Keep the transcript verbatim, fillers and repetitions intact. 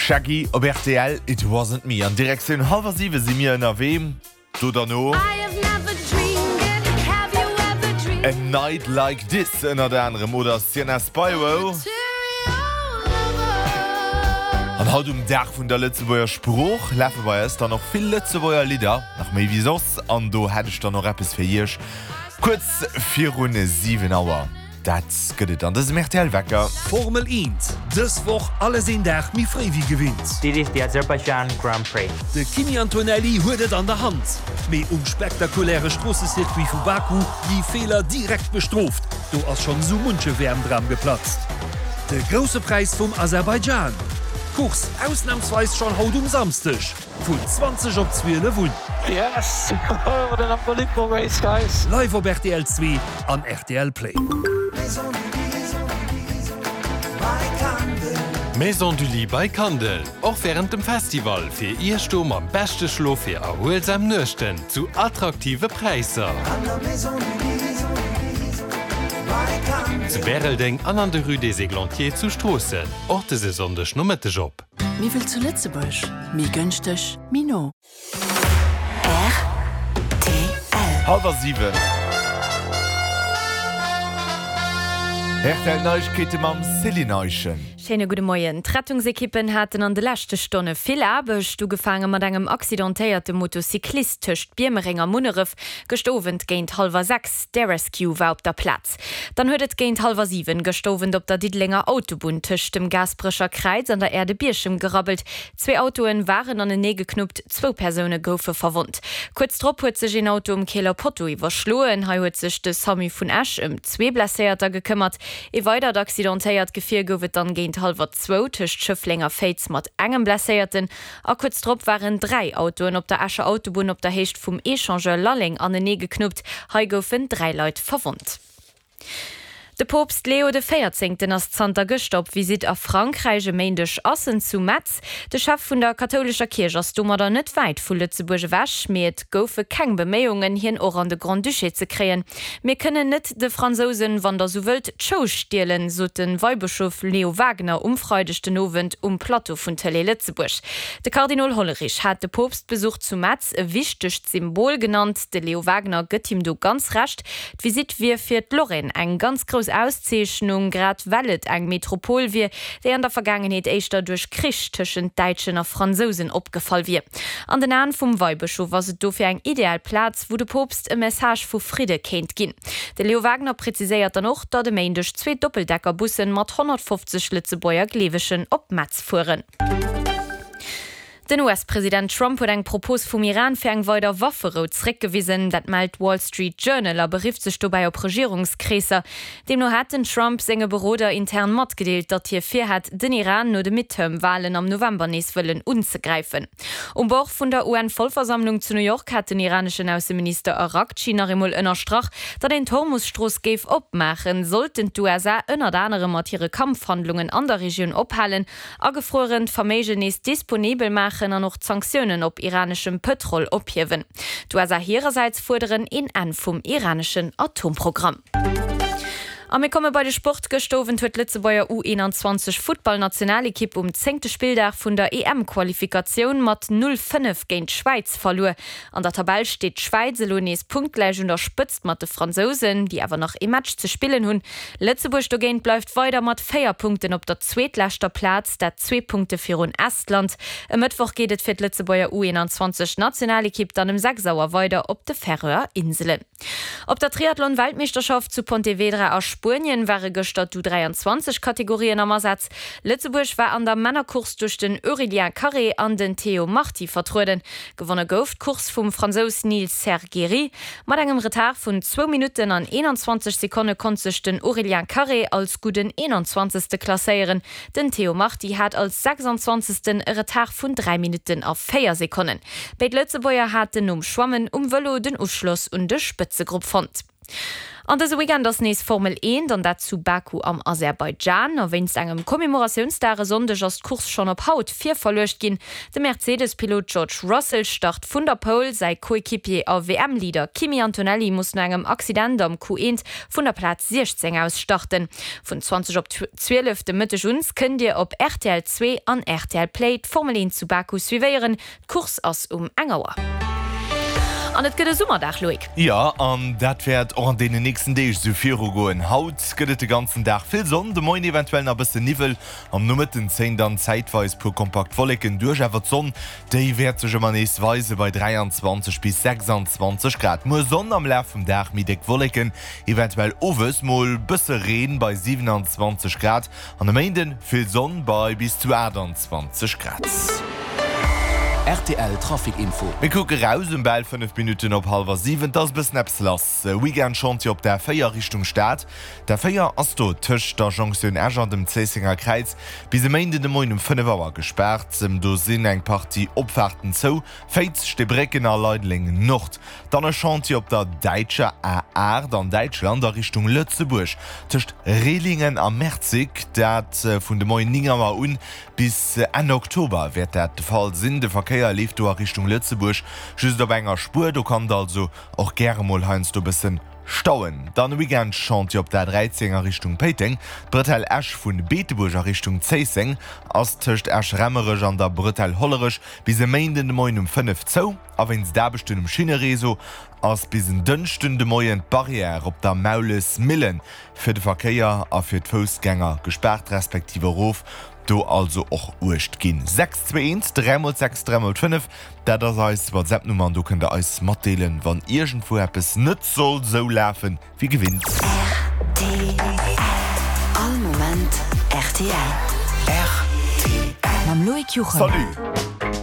Shaggy op rtl, It Wasn't Me. An Direktioun hallwer siwe si mir ënnerwee. Do derno A Night Like This ënnert anerem oder Sienna Spiro. An haut um Dag vun der Lëtzebuerger Sprooch lafe bei eis dann och vill Lëtzebuerger Lidder, nach méi wéi soss. An do hätt ech dann och eppes fir iech kuerz virun siwen Auer. Dat gëtt et an dësem rtl Wecker. Formel eent, dës Woch alles een Dag méi fréi wéi gewinnt. This is the Azerbaijan Grand Prix. De Kimi Antonelli huet et an der Hand, mee um spektakuläre Stroossecircuit vu Baku gi Feeler direkt bestrooft. Do ass schonn esou munche W M-Dram geplatzt. De Grousse Präis vum Aserbaidschan, Course ausnamsweis schonn haut um Samsdeg vun zwanzeg op zwielef un. Yes! What an unbelievable race, guys! Live op rtl zwee an rtl Play. Maison du Lit by Kandel, och wärend dem Festival fir Iech do mam beschte Schlof fir erhuelsam Nuechten zu attraktive Präisser. Zu Bäreldeng an an der Rue des Églantiers zu Stroossen. Och dëse Sonndeg Nomëtteg op. Méi wéi zu Lëtzebuerg, méi gënschteg, méi no. R T L. Hallwer siwen. R T L Neiegkeete mam Céline Eischen. Schéine gudde Moien. D'Rettungsekippen haten an de leschte Stonne vill Aarbecht, ugefaange mat engem accidentéierte Motocyclist tëscht Biermereng a Munneref gëschter Owend géint hallwer sechs. D'Air Rescue war op der Plaz. Dann huet et géint hallwer siwen gëschter Owend op der Diddelenger Autobunn tëscht dem Gaasperecher Kräiz an der Aire de Bierchem gerabbelt. Zwee Autoe waren anenee geknuppt, zwou Persoune goufe verwonnt. Kuerz drop huet sech een Auto um Keeler Potto iwwerschloen. Hei huet sech de SAMU vun Esch ëm zwee Blesséierter gekëmmert. Ee weidert accidentéiert Gefier gouf et dann géint hallwer zwou tëscht Schëffleng a Féiz mat engem Blesséierten. A kuerz drop waren dräi Autoen op der Escher Autobunn op der Héicht vum Echangeur Lalleng anenee geknuppt. Hei goufen dräi Leit verwonnt. De Poopst Leo de Véierzéngten ass zanter gëschter op Visitt a Frankräich. E Méindeg ass en zu Metz. De Chef vun der kathoulescher Kierch ass domadder net wäit vu Lëtzebuerg ewech, mee et goufe keng Beméiungen, hien och an de Grand-Duché ze kréien. Mir kënnen net de Fransousen, wann der sou wëllt, d'Show stielen, sot de Weibëschof Leo Wagener um Freideg den Owend um Plateau vun Tëlee Lëtzebuerg. De Kardinol Hollerich hat de Poopstbesuch zu Metz e wichtegt Symbol genannt. De Leo Wagener gëtt him do ganz Recht. D'Visitt wier fir d'Lorraine eng ganz grouss Auszeechnung, grad well et eng Metropol wier, déi an der Vergaangenheet éischter duerch Krich tëschent Däitschen a Fransousen opgefall wier. An den Aen vum Weibëschof ass et dofir eng ideal Plaz, wou de Poopst e Message vu Fridde kéint ginn. De Leo Wagener präziséiert dann och, datt e Méindeg zwee Doppeldeckerbussen mat honnertfofzeg Lëtzebuerger Gleewegen op Metz fueren. Den U S-President Trump huet eng Propos vum Iran fir eng weider Wafferou zréckgewisen. Dat mellt d'Wall Street Journal a berifft sech dobäi op Regierungskreesser. Deemno hat den Trump senge Beroder intern matgedeelt, datt hie virhätt, den Iran no de Midterm-Walen am November nees wëllen unzegräifen. Um Bord vun der U N-Vollversammlung zu New York hat den iraneschen Ausseminister Araghchi nach eemol ënnerstrach, datt een d'Hormus-Strooss géif opmaachen, sollten d'U S A ënnert anerem mat hire Kampfhandlungen an der Regioun ophalen, agefruerent Verméigen nees disponibel maachen an och d'Sanktiounen op iraneschem Pëtrol ophiewen. D'U S A hirersäits fuerderen een Enn vum iraneschen Atomprogramm. A mir komme bei de Sport. Gëschter Owend huet d'Lëtzebuerger U eenanzwanzeg Futtballnationalekipp um zéngte Spilldag vun der E M-Qualifikatioun mat null fënnef géint d'Schwäiz verluer. An der Tabell steet d'Schwäiz elo nees punktgläich un der Spëtzt mat de Fransousen, déi awer nach ee Match ze spillen hunn. Lëtzebuerg dogéint bleift weider mat véier Punkten op der zweetleschter Plaz, dat zwee Punkte virun Estland. E Mëttwoch geet et fir d'Lëtzebuerger U eenanzwanzeg Nationalekipp dann ëm sechs Auer weider op de Färöer Inselen. Op der Triathlon-Weltmeeschterschaft zu Pontevedra a Spuenien ware gëschter d'U dräianzwanzeg Kategorien am Asaz. Lëtzebuerg war an der Männercourse duerch den Aurélien Carré an den Théo Marti vertrueden. Gewonne gouf d'Course vum Fransous Nils Sergeri. Mat engem Retard vun zwou Minutten an eenanzwanzeg Sekonne konnt sech den Aurélien Carré als gudden eenanzwanzegste klasséieren. Den Théo Marti hat als sechsanzwanzegsten e Retard vun dräi Minutten a véier Sekonnen. Béid Lëtzebuerger haten nom Schwammen um Vëlo den Uschloss un de Spëtzegrupp fonnt. An dëse Weekend ass nees Formel eent, an dat zu Baku am Aserbaidschan. A wéinst engem Commemoratiounsdag e Sonndeg ass d'Course schonn op haut virverluecht ginn. De Mercedes-Pilot George Russell start vun der Pole, säi Coequipier a W M-Leader Kimi Antonelli muss no engem Accident am Q eent vun der Plaz siechzéng aus starten. Vun zwanzeg op zwielef de Mëtteg un kënnt Dir op R T L zwee an R T L Play d'Formel eent zu Baku suivéieren. D'Course ass um eng Auer. An et gëtt e Summerdag, Loïc. Jo, an dat wäert och an deenen nächsten Deeg esou virugoen. Haut gëtt et de ganzen Dag vill Sonn, de Moien eventuell nach e bëssen Niwwel, am Nomëtten zéien dann zäitweis puer kompakt Wolleken duerch, awer d'Sonn, déi wäert sech ëmmer nees weise bei dräianzwanzeg bis sechsanzwanzeg Grad. Muer Sonn, am Laf vum Dag méi déck Wolleken, eventuell owes mol bësse Reen bei siewenanzwanzeg Grad an e Méinden vill Sonn bei bis zu aachtanzwanzeg Grad. R T L Trafic Info. Mir kucke raus um bal fënnef Minutten op hallwer siwen. Et ass e bëssen eppes lass. Weekend-Chantier op der A véier Richtung Stad. D'A véier ass do tëscht der Jonktioun Esch an dem Zéissenger Kräiz bis e Méinden de Moien um fënnef Auer gespaart. Do sinn eng Partie Opfaarten zou, Féiz, Steebrécken a Leideleng Nord. Dann e Chantier op der däitscher A aacht an Däitschland a Richtung Lëtzebuerg tëscht Rehlingen a Merzig, dat vun de Moien néng Auer un bis Enn Oktober wäert dat de Fall sinn. De Verkéier leeft do a Richtung Lëtzebuerg just op enger Spuer, do kann et also och gäre mol heiansdo bëssen stauen. Dann e Weekend-Chantier op der A dräizéng a Richtung Péiteng. D'Bretelle Esch vun Beetebuerg a Richtung Zéisseng ass tëscht Esch-Raemerech an der Bretelle Hollerech bis e Méinden de Moien um fënnef zou. A wéinst Aarbechten um Schinnereseau ass bis en Dënschden de Moien d'Barrière op der Maulesmillen fir de Verkéier a fir d'Foussgänger gespaart respektiv erof. Do also och uecht ginn. Sechs zwee eent dräi mol sechs dräi mol fënnef, dat ass eis WhatsApp-Nummer an do kënnt der eis matdeelen, wann iergendwou eppes net soll sou lafen wéi gewinnt. R T L. All Moment R T L. R T L. Mam Loïc Juchem. Salut!